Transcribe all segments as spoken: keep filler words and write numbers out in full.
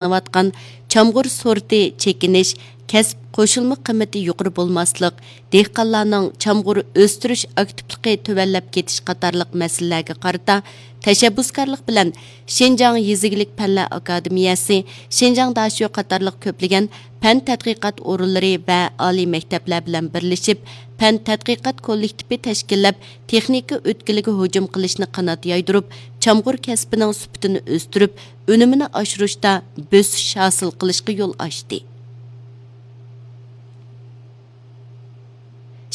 قىلىنىۋاتقان چامغۇر سورتى چېكىنىش، كەسىپ قوشۇلما قىممىتى يۇقىرى بولماسلىق، دېھقانلارنىڭ چامغۇر ئۆستۈرۈش ئاكتىپلىقى تۆۋەنلەپ كېتىش قاتارلىق مەسىلىلەرگە قارىتا تەشەببۇسكارلىق بىلەن شىنجاڭ يېزا ئىگىلىك پەنلەر ئاكادېمىيەسى، شىنجاڭ داشۆ قاتارلىق كۆپلىگەن پەن تەتقىقات ئورۇنلىرى ۋە ئالىي مەكتەپلەر بىلەن بىرلىشىپ، پەن تەتقىقات كوللېكتىپى تەشكىللەپ، تېخنىكا ئۆتكىلىگە ھۇجۇم قىلىشنى قانات يايدۇرۇپ، چامغۇر كەسپىنىڭ سۈپىتىنى ئۆستۈرۈپ، ئۈنۈمىنى ئاشۇرۇشتا بۆسۈش ھاسىل قىلىشقا يول ئاچتى.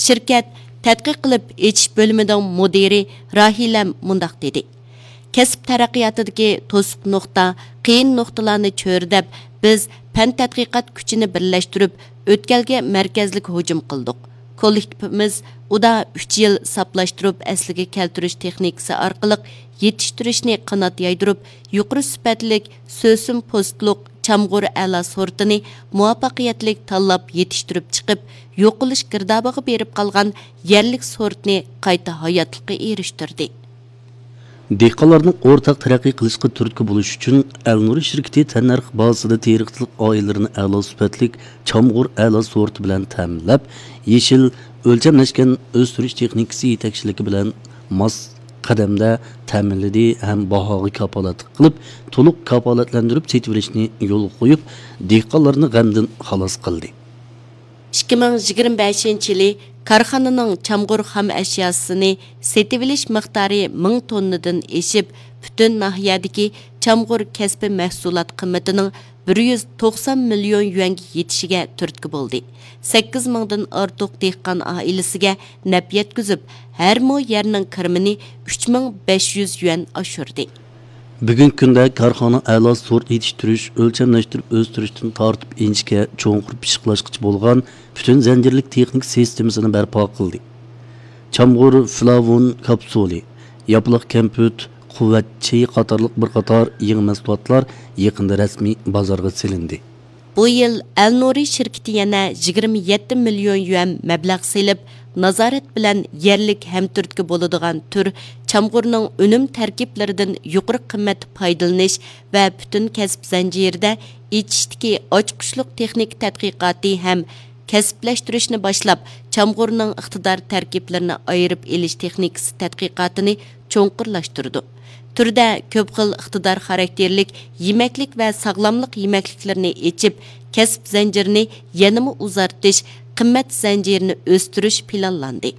شىركەت تەتقىق قىلىپ ئېچىش بۆلۈمىنىڭ مۇدىرى راھىلەم مۇنداق دېدى: كەسىپ تەرەققىياتىدىكى توسۇق نۇقتا، قىيىن نۇقتىلارنى چۆرىدەپ، بىز پەن تەتقىقات كۈچىنى بىرلەشتۈرۈپ، ئۆتكەلگە مەركەزلىك ھۇجۇم قىلدۇق. كوللېكتىپىمىز ئۇدا ئۈچ يىل ساپلاشتۇرۇپ ئەسلىگە كەلتۈرۈش تېخنىكىسى ئارقىلىق يېتىشتۈرۈشنى قانات يايدۇرۇپ، يۇقىرى سۈپەتلىك سۆسۈن پوستلۇق چامغۇر ئەلا سورتىنى مۇۋەپپەقىيەتلىك تاللاپ يېتىشتۈرۈپ چىقىپ، يوقىلىش گىردابىغا بېرىپ قالغان يەرلىك سورتنى قايتا ھاياتلىققا ئېرىشتۈردى. دېھقانلارنىڭ ئورتاق تەرەققىي قىلىشىغا تۈرتكە بولۇش ئۈچۈن، ئەلنۇر شىركىتى تەننەرخ بازىسىدا تېرىقچىلىق ئائىلىلىرىنى ئەلا سۈپەتلىك چامغۇر ئەلا سورتى بىلەن تەمىنلەپ، يېشىل، ئۆلچەملەشكەن ئۆستۈرۈش تېخنىكىسى يېتەكچىلىكى بىلەن ماس قەدەمدە تەمىنلىدى ھەم باھاغا كاپالەتلىك قىلىپ، تولۇق كاپالەتلەندۈرۈپ سېتىۋېلىشنى يولغا قويۇپ، دېھقانلارنى غەمدىن خالاس قىلدى. ئىككى مىڭ يىگىرمە بەشىنچى يىلى كارخانىنىڭ چامغۇر خام ئەشياسىنى سېتىۋېلىش مىقدارى مىڭ توننىدىن ئېشىپ، پۈتۈن ناھىيەدىكى چامغۇر كەسپى مەھسۇلات قىممىتىنىڭ بىر يۈز توقسان مىليون يۈەنگە يېتىشىگە تۈرتكە بولدى. سەككىز مىڭدىن ئارتۇق دېھقان ئائىلىسىگە نەپ يەتكۈزۈپ، ھەر مو يەرنىڭ كىرىمىنى ئۈچ مىڭ بەش يۈز يۈەن ئاشۇردى. بۈگۈنكى كۈندە كارخانا ئەلا سورت يېتىشتۈرۈش، ئۆلچەملەشتۈرۈپ ئۆستۈرۈشتىن تارتىپ ئىنچىكە چوڭقۇر پىششىقلاشقىچە بولغان پۈتۈن زەنجىرلىك تېخنىكا سىستېمىسىنى بەرپا قىلدى. چامغۇر فلاۋون كاپسۇلى، ياپىلاق كەمپۈت، قۇۋۋەت چېيى قاتارلىق بىر قاتار يېڭى مەھسۇلاتلار يېقىندا رەسمىي بازارغا سېلىندى. بۇ يىل ئەلنۇرى شىركىتى يەنە يىگىرمە يەتتە مىليون يۈەن مەبلەغ سېلىپ، نازارەت بىلەن يەرلىك ھەمتۈرتكە بولىدىغان تۈر چامغۇرنىڭ ئۈنۈم تەركىبلىرىدىن يۇقىرى قىممەتتە پايدىلىنىش ۋە پۈتۈن كەسىپ زەنجىرىدە ئېچىشتىكى ئاچقۇچلۇق تېخنىكا تەتقىقاتى ھەم كەسىپلەشتۈرۈشنى باشلاپ، چامغۇرنىڭ ئىقتىدار تەركىبلىرىنى ئايرىپ ئېلىش تېخنىكىسى تەتقىقاتىنى چوڭقۇرلاشتۇرىدۇ. تۈردە كۆپ خىل ئىقتىدار خاراكتېرلىك يېمەكلىك ۋە ساغلاملىق يېمەكلىكلىرىنى ئېچىپ، كەسىپ زەنجىرىنى يەنىمۇ ئۇزارتىش، قىممەت زەنجىرىنى ئۆستۈرۈش پىلانلاندى.